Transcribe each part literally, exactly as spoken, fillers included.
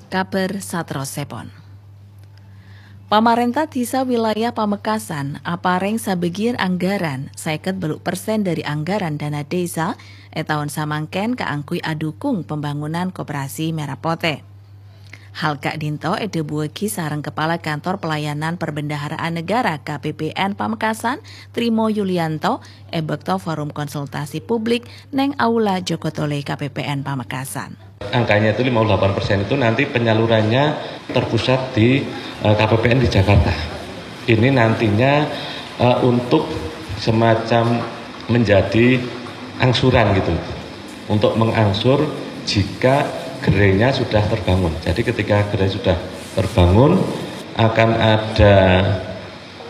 Kabhâr saterrossèpon. Pamarènta Dhisa Wilayah Pamekasan aparèng sabâgiyân anggaran, sèket bâllu' persen dhâri anggaran dana dhisa è taon samangkèn kaangghuy adhukung pembangunan koperasi Merah Potè. Hal ka'dinto èdhâbuwâghi sareng Kepala Kantor Pelayanan Perbendaharaan Negara K P P N Pamekasan, Trimo Yulianto, è bâkto forum konsultasi publik neng Aula Jokotole K P P N Pamekasan. Angkanya itu lima puluh delapan persen itu nanti penyalurannya terpusat di, eh, K P P N di Jakarta. Ini nantinya, eh, untuk semacam menjadi angsuran gitu, untuk mengangsur jika gerainya sudah terbangun. Jadi ketika gerai sudah terbangun, akan ada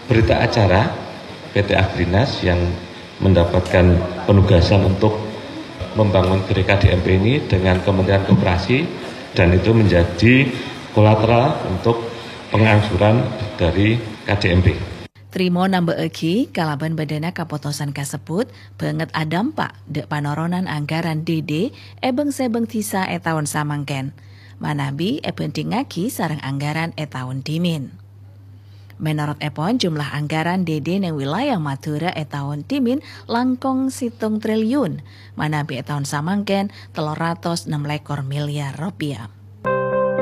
berita acara P T Agrinas yang mendapatkan penugasan untuk membangun gerai K D M P ini dengan Kementerian Koperasi, dan itu menjadi kolateral untuk pengangsuran dari K D M P. Trimo namba'aghi, kalabân bâdâna kapotosan kasebbhut, bângèt adâmpa' dâ' panoronan anggaran D D è bâng-sèbâng dhisa è taon samangkèn, manabi èbhândhingngaghi sareng anggaran è taon dhimèn. Mènorot èpon, jumlah anggaran D D neng wilayah Madhurâ è taon dhimèn langkong sèttong triliun, manabi è taon samangkèn tello ratos ennem lèkor milyar ropèya.